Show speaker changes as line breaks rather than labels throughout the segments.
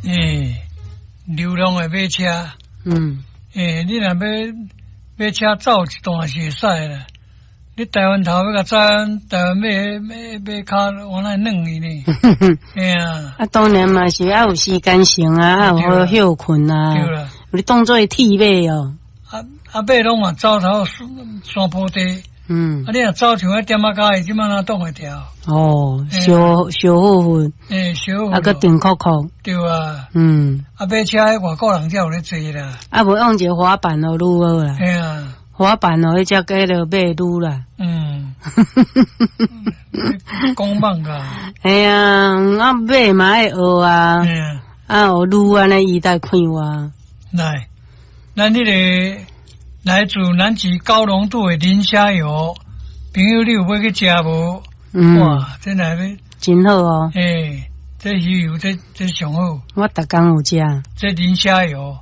欸，流浪的馬車，欸，你若欲馬車走一段是會使啦。你台灣頭欲共走，台灣馬馬馬跤我來軟去呢？嘿啊！
啊，當然嘛是愛有時間性啊，愛有好歇睏啊。
對啦，
你當做鐵馬哦。
啊啊，馬攏嘛走頭山坡地。啊，你若走像彼點仔跤，伊這擺哪擋會牢？
哦，燒燒好粉。
欸，燒
啊，閣定扣扣。
對啊。啊，馬車彼外國人才有咧坐啦。
啊，無用一个滑板哦，愈好啦。
嘿啊。
滑板哦，彼隻叫做馬愈啦。
講蠓噶。
嘿啊，啊馬嘛愛學啊。啊，學愈按呢伊才快活。
來，咱彼个來自南極高濃度的磷蝦油，朋友你有欲去食無？哇，這來欲
真好哦。
欸，這魚油這這上好。
我逐工有食。
這磷蝦油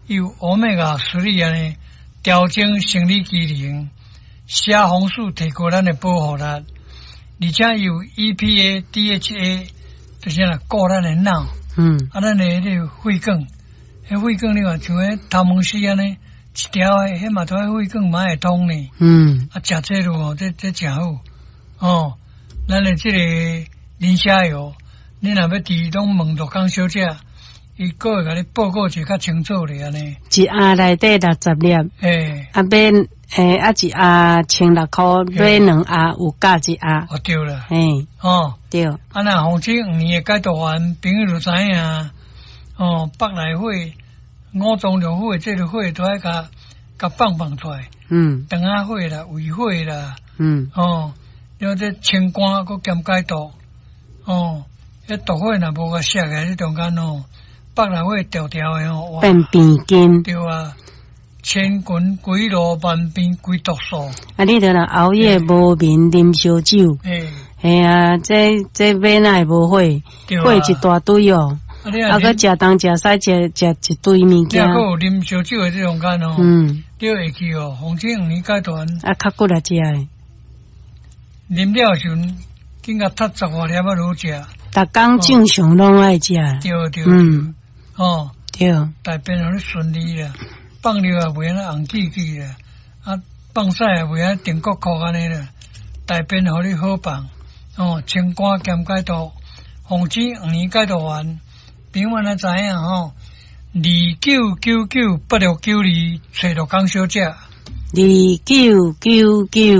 有歐米伽3按呢，調整生理機能，蝦紅素提高咱的保護力，而且有 EPA、DHA，就是來顧咱的腦。啊，咱的彼个血管，彼血管你看像彼頭毛絲按呢，一條的，彼嘛都愛血管嘛會通呢。啊，食這路哦，這這誠好。哦，咱的這個磷蝦油，你若欲佇攏問陸江小姐，伊閣會共你報告一個較清楚咧按呢。
一盒內底60粒。
欸。
啊買，欸，啊一盒16箍，買兩盒有加一盒。
哦，對啦。
嘿。
哦。
對。
啊，若防止黃連的解毒丸，朋友就知影。哦，腹內火、五臟六腑的這个火都愛共共放放出來。腸仔火啦，胃火啦。哦，了這清肝閣兼解毒。哦，彼毒火若無共卸起來，這中間哦，腹內火條條的哦，
變變筋。
對啊，千群鬼路萬變歸毒素。
啊，你著若熬夜無眠，啉燒酒。
欸。
嘿啊，這這馬哪會無火？火一大堆哦。啊，閣食東食西，食食一堆物件。
你閣有啉燒酒的這中間哦。你會記哦，防止黃連解毒丸。
啊，較骨力食的。
啉了時陣，緊共踢十外粒仔落食。
逐工正常攏愛食。
對對。哦。
對。
大便予你順利啦，放尿也袂按呢紅記記啦，啊，放屎也袂按定國國按呢啦，大便予你好放，哦，清肝兼解毒，防止黃連解毒丸，朋友們知影吼，29998692，揣陸江小姐。
2999。